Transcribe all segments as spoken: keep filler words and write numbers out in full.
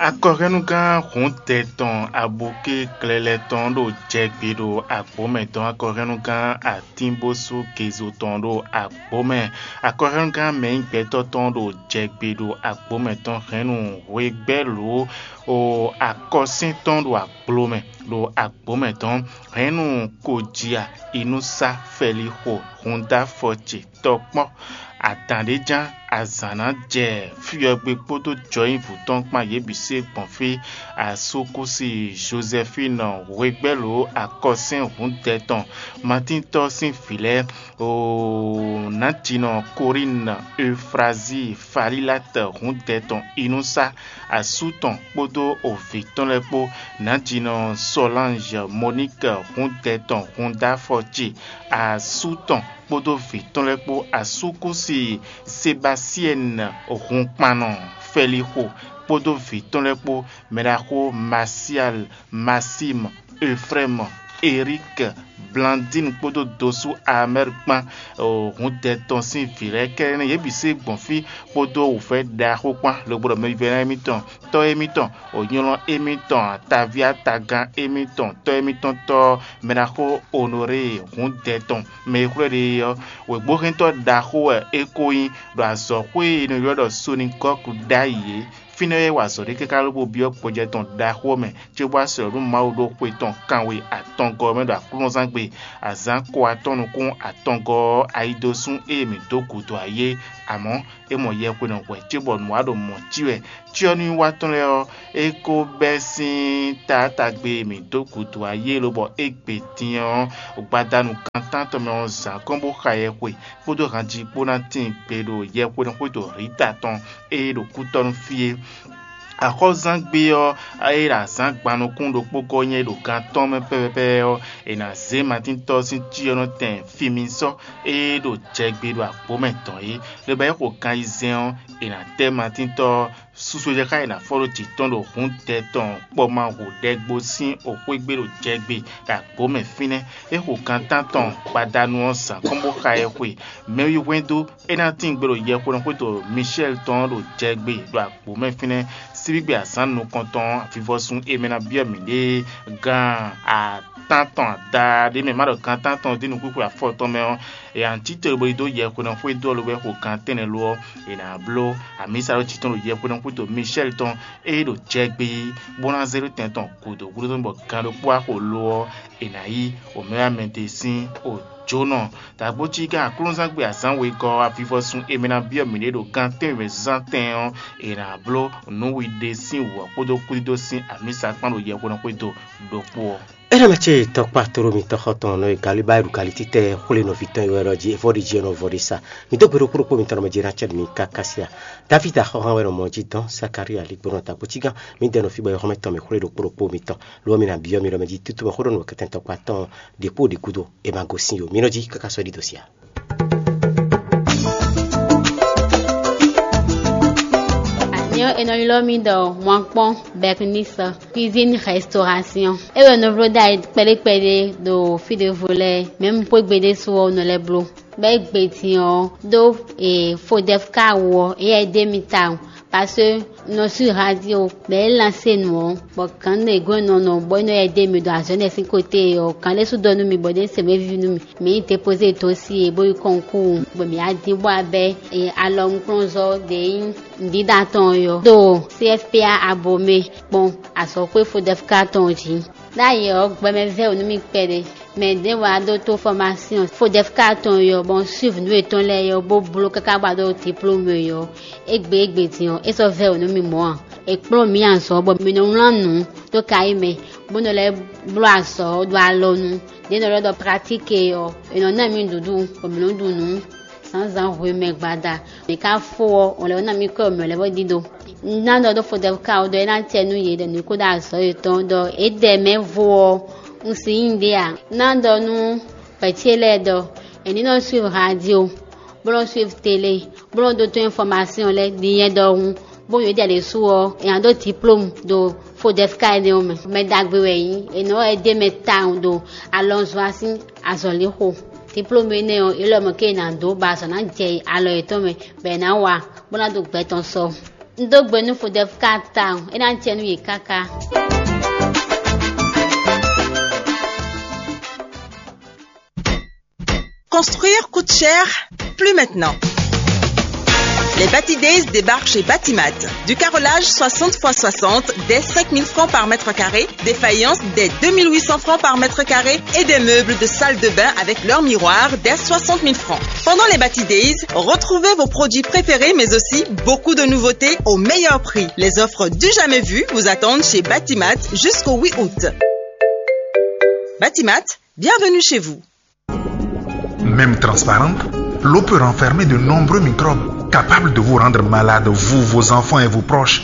Akɔhɛ́núgán hǔndɛ tɔn abukí klɛlɛ tɔn ɖo jɛgbe ɖo agbǒ mɛ tɔn, akɔhɛ́núgán atínbósú gezo tɔn ɖo agbǒ mɛ, akɔhɛ́núgán mɛnyígbɛtɔ́ tɔn ɖo jɛgbe ɖo agbǒ mɛ tɔn, hɛ̌nnu hwegbɛ́lǒ o akɔsín tɔn ɖo agblo mɛ ɖo agbǒ mɛ tɔn, hɛ̌nnu kojia inúsá fɛlixo húndáfɔ ce tɔkpɔ́. Adǎn ɖé ján azǎn ná jɛ fyɔ́gbé kpódó jɔnyívu tɔn kpán yě bǐ se gbɔn fí. Asúkúsi Jozɛfínu hwegbɛ́lǒ akɔsɛ́n hǔndɛ tɔn, Matíntɔ́ sín vǐ lɛ́ɛ, oo, nǎjinɔ Kolínu, Eufrazíi, Falílatɛ hǔndɛ tɔn inúsá, asú tɔn kpódó ovǐ tɔn lɛ́ɛ kpó, nǎjinɔ Sɔlánzɛ, Moníkɛ hǔndɛ tɔn húndáfɔ ce, asú tɔn kpódó vǐ tɔn lɛ́ɛ kpó, asúkúsi Sebasiɛ́nu hunkpannɔ Fɛlixo kpódó vǐ tɔn lɛ́ɛ kpó, mɛɖaxó Masial, Masímu, Efrɛ́mu, Erík, Blandín kpódó dosú Amɛ́r kpán, hǔndɛ tɔn sín vǐ lɛ́ɛ kɛ́ɖɛ́ nɛ́, yě bǐ se gbɔn fí kpódó wǔvɛ́ ɖaxó kpán, lobo ɖɔ mɛvívɛ́ná émítɔn, tɔ́ émítɔn, ònyɔ́lɔ́ émítɔn, ataví atagán émítɔn, tɔ́ émítɔn tɔ́ mɛɖaxó Onorée hǔndɛ tɔn, mɛ e xwlɛ́ ɖe é ɔ́, wěgbóhɛntɔ́ ɖaxó wɛ é ko nyí, ɖo azɔ̌xwé e è nɔ ylɔ́ ɖɔ Sonigɔ́ku ɖ'ayǐ é. Fínɛ́ wɛ é wa azɔ̌ ɖé káká lobo byɔ́ gbɔjɛ́ tɔn ɖaxó ɔ́ mɛ, cóbó wá slɔ̌ nú Mawu ɖo xwe tɔn kanwe atɔngɔ́ ɔ́ mɛ ɖo aklúnɔzángbe, azǎn ko atɔ́ nukún atɔngɔ́ ɔ́, ayidosún e mǐ dó gǔdo ayé. Amɔ̌, é mɔ yɛhwenɔ hwɛ cóbɔ nǔ wa ɖo mɔ̌ cí wɛ. Cyɔ́núwiwa tɔn lɛ́ɛ ɔ́, é ko bɛ́ sín taátagbe e mǐ dó gǔdo ayé lobɔ égbé din ɔ́, gbadanu gan tántɔn mɛ ɔ́, zǎn kɔn bó xa yɛhwe kpódó hanji kpó ná tíin gbe ɖo yɛhwenɔ xwédo Rita tɔn e ɖo kútɔ́ nú fí é. Axɔ́zángbé ɔ́, e ɖo azǎn gban nukún ɖokpó gɔ́ nyɛ ɖo gan tɔn mɛ pɛ́pɛ́pɛ́ ɔ́, è nǎ zé Matíntɔ́ sín cyɔ́nɔtɛn Fimisɔ́ e ɖo jɛgbe ɖo agbǒ mɛ tɔn é. Lobɔ é xo gan ayizɛ́n ɔ́, è nǎ tɛ́ Matíntɔ́ ɔ́, susu jɛ xá è nǎ fɔ ɖó jǐ tɔn ɖo hǔndɛ tɔn kpɔmahǔ ɖɛgbo sín oxwégbé ɖo jɛgbe ɖo agbǒ mɛ fínɛ́. É xo gan tántɔn gbadanu ɔ́ zǎn kɔn bó xa ɛ xwe. Mɛwi hwɛndo é ná tín gbe ɖo yɛhweɖɔxwédo Mishɛ́li tɔn ɔ́ ɖo jɛgbe ɖo agbǒ mɛ fínɛ́. Síbígbe azǎn nukɔntɔn ɔ́, avivɔsun e mɛ ná byɔ́ mǐɖée gan atán tɔn ada ɖé mɛ, má ɖɔ gan atán tɔn dín nukúnxwe afɔ tɔn mɛ ɔ́, è nǎ cí te bo yi dó yɛhweɖɔxwédo ɔ́ lobɔ é xo gan tɛ́nnɛ lo ɔ́, è nǎ bló amǐsa ɖó jǐ tɔn ɖo yɛhweɖɔxwédo Mishɛ́li tɔn e ɖo jɛgbe bó ná zé ɖó tɛn tɔn gǔdo gúdo tɔn bɔ gan ɖokpó wá xo lo ɔ́, è nǎ yí omɛ́wámɛdé sín òjǒnɔ. Dǎgbócí gán aklúnɔzángbe azǎn wegɔ́ ɔ́, avivɔsun e mɛ ná byɔ́ mǐɖée ɖo gan tɛ́nwe mɛ zán tɛn ɔ́, è nǎ bló nǔwiɖe sín wǔ ɔ́ kpódó kúdídó sín amǐsa kpán ɖo yɛhweɖɔxwédo ɖokpó ɔ́. É nɔ mɛ ce tɔkpa tlóló mitɔn xɔtɔn nɔ e galíbá e ɖo galítítɛ xwlé nɔví tɔn e wɛ ɖɔ jí é vɔ ɖi jí ɔ́ nɔ vɔ ɖi sa. Mi dó gbe ɖokpó ɖokpó mitɔn nɔ mɛ jí ná cɛ mi káká sia. David axɔ́hán wɛ nɔ mɔ jí dɔn Zakaria ligbónɔ dǎgbócígán. Mi dɛ nɔ fí bɔ é xɔ́mɛ tɔn mi xwlé ɖokpó ɖokpó mitɔn. Lo ɔ́ mi ná byɔ́ mi ɖɔ mɛ jí tútú mɛ xó ɖo nǔ kɛtɛn tɔkpa tɔn ɖě kpó ɖě gúdo è ma gosín ó. Mi nɔ jí káká sɔ́ ɖi dǒ sia. Nyɔ è nɔ ylɔ́ mì ɖɔ Mwankpɔ́n Bɛknisɔ, cuisine restauration. É wɛ nɔ bló ɖ'ayǐ kpɛɖé kpɛɖé ɖo fí ɖěvo lɛ́ɛ, mɛ̌ un xwé gbe ɖésú ɔ́ nɔ lɛ́ bló. Bɔ é gbe din ɔ́ ɖó e Fodɛfka wú ɔ́, éyɛ́ é ɖe mì tawun, parce que nɔ sú radio bɔ é lansé nǔ ɔ́, bɔ gǎn ɖě gɔ́n nɔ nɔ bɔ é nɔ yɛ ɖe mì ɖo azɔ̌ énɛ́ sín kóté ɔ́, gǎn ɖé sú ɖɔ nú mì bɔ ɖě se mɛ víví nú mì. Mǐ yi dépozé dó sí e bó yi kɔnkúu, bɔ mǐ wá dín bó wá bɛ́ alɔnukplɔ́nzɔ́ ɖě nyí nǔɖiɖa tɔn ɔ́ ɖo C F P A Abomé kpɔ́n azɔ̌xwé Fodɛfka tɔn jí. Ɖ'ayǐ ɔ́, gbɛmɛ vɛ́ wǔ nú mì kpɛɖé. Mɛ ɖěvo wá ɖótó fɔ́másyɔn Fodɛfka tɔn ɔ́, bɔ un suiv nǔ yětɔn lɛ́ɛ ɔ́, bó bló káká bó wá ɖó diplôme ɔ́. Égbé égbé din ɔ́, é sɔ́ vɛ́ wǔ nú mì mɔ̌ ǎ. È kplɔ́n mǐ azɔ̌ bɔ mǐ nɔ wlán nǔ dó kayí mɛ, bó nɔ lɛ́ bló azɔ̌ ɖo alɔnu. Ɖě nɔ ɖɔ ɖɔ pratique ɔ́, è nɔ ná mì nǔɖuɖu, bɔ mǐ nɔ ɖu nǔ zǎnzǎn hwemɛ gbada. Mǐ ka fó ɔ́, ɔn lɛ́ ná mì kɔ́ mǐ lɛ́ bó ɖíɖó. Un ná ɖɔ ɖó Fodɛfka ɔ́ ɖɔ é ná acɛ nú yě ɖɔ nǔ kó ɖo azɔ̌ yětɔn ɖɔ é ɖɛ mɛ vo ɔ́, un si nyí ɖě ǎ. Un ná ɖɔ nú vɛ̌ ce lɛ́ɛ ɖɔ è ní nɔ suiv radio, bó nɔ suiv télé, bó nɔ ɖótó infɔmasyɔn lɛ́ɛ ɖi nyɛ ɖɔhun, bó nyɔ̌ ɖi alě su ɔ́, è nǎ ɖó diplôme ɖo Fodɛfka énɛ́ ɔ́ mɛ. Mɛ ɖagbe wɛ é nyí, è nɔ wɛ dó mɛ tawun ɖo alɔnzɔ́ sín azɔ̌lixo. Diplôme énɛ́ ɔ́, é lɔ mɔ̌ ké è nǎ dó bɔ azɔ̌ ná jɛ alɔ yětɔn mɛ, bɔ è nǎ wa, bó ná ɖo gbɛ tɔn sɔ. Un dó gbe nú Fodɛfu káká tawun, é ná jɛ nú yě káká. Construire coûte cher, plus maintenant. Les Bati Days débarquent chez Batimat. Du carrelage soixante fois soixante dès cinq mille francs par mètre carré, des faïences dès deux mille huit cents francs par mètre carré et des meubles de salle de bain avec leur miroir dès soixante mille francs. Pendant les Bati Days, retrouvez vos produits préférés mais aussi beaucoup de nouveautés au meilleur prix. Les offres du jamais vu vous attendent chez Batimat jusqu'au huit août. Batimat, bienvenue chez vous. Même transparente, l'eau peut renfermer de nombreux microbes capables de vous rendre malade, vous, vos enfants et vos proches.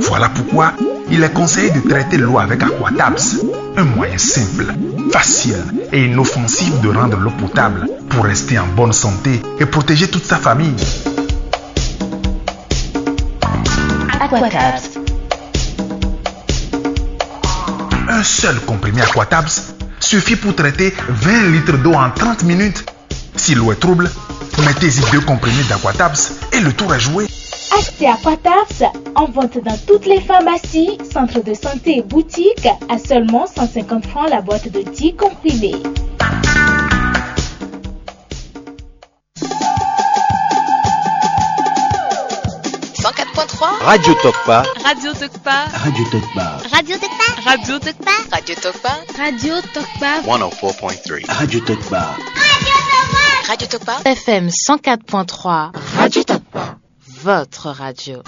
Voilà pourquoi il est conseillé de traiter l'eau avec Aquatabs, un moyen simple, facile et inoffensif de rendre l'eau potable pour rester en bonne santé et protéger toute sa famille. Aquatabs. Un seul comprimé Aquatabs suffit pour traiter vingt litres d'eau en trente minutes. Si l'eau est trouble, mettez-y deux comprimés d'Aquatabs et le tour est joué. Achetez Aquatabs en vente dans toutes les pharmacies, centres de santé et boutiques à seulement cent cinquante francs la boîte de dix comprimés. Cent quatre point trois. Radio Tokpa. Radio Tokpa. Radio Tokpa. Radio Tokpa. Radio Tokpa. Radio Tokpa. Radio Tokpa. One oh four point three. Radio Tokpa. Radio Tokpa. F M cent quatre point trois. Radio Tokpa. Votre radio.